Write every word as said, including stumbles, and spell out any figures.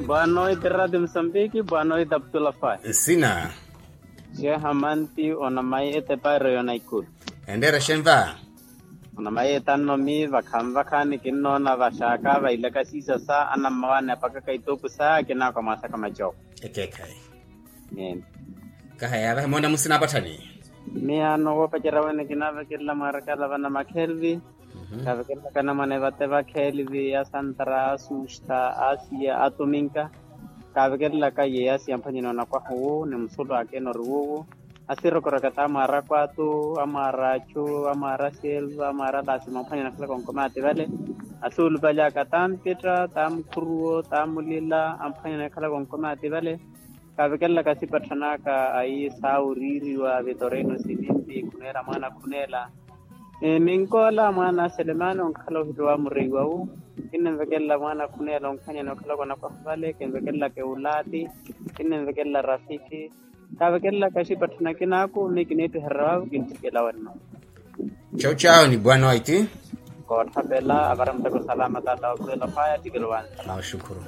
Boa noite rati musambiki boa noite aputula faya. Nsina. Xeha manti onamayi etepairo yona ikulu. Endeera xenva. Onamayi etannomi vakhanvakhani kinnoona vaxaaka vailaka siisa sa anammawaani apakaka ituuku sa kinaakwa mwaasaka macoko. Ekeekhayi. Kahaya vahe moona musina apatthani. Miyaano woopacerya wene kinaavekelela mwaarakaala vana makhelvi. Kaavekelelaka anamwane vate vakhelvi asantara asusta asiya atuminka. Kaavekelelaka yeeyo asiya amphwanyani onakwaha owu ni musulu ake enori wuwu. Asirokoraka t'amwaara akwatu amwaara achu amwaara aselva amwaara alasima amphwanyani akhalaka onkomaati vale. Asuulupalyaka t'ampetta t'amukhuruwo t'amulila amphwanyani akhalaka onkomaati vale. Kaavekelelaka asipatthan'aka ayi saawiriiriwa vitorino sivinti khuneela mwaana khuneela. Minkoola mwaana a selemani onkhala ohitto wa mureiwa wu. Kinnimvekelela mwaana khuneela onkhanyani okhalaka onakwaha vale kinvekelelaka ewulaati. Kinnimvekelela rafiki. Kaavekelelaka axipatthana kinaaku mi kiniittiherya vaavu kintthikela wenno. Chau chau ni bwana waiti. Kootthapela avara muteko salama tata wakhurela phaya ttikelo wansa. Naxukhuru.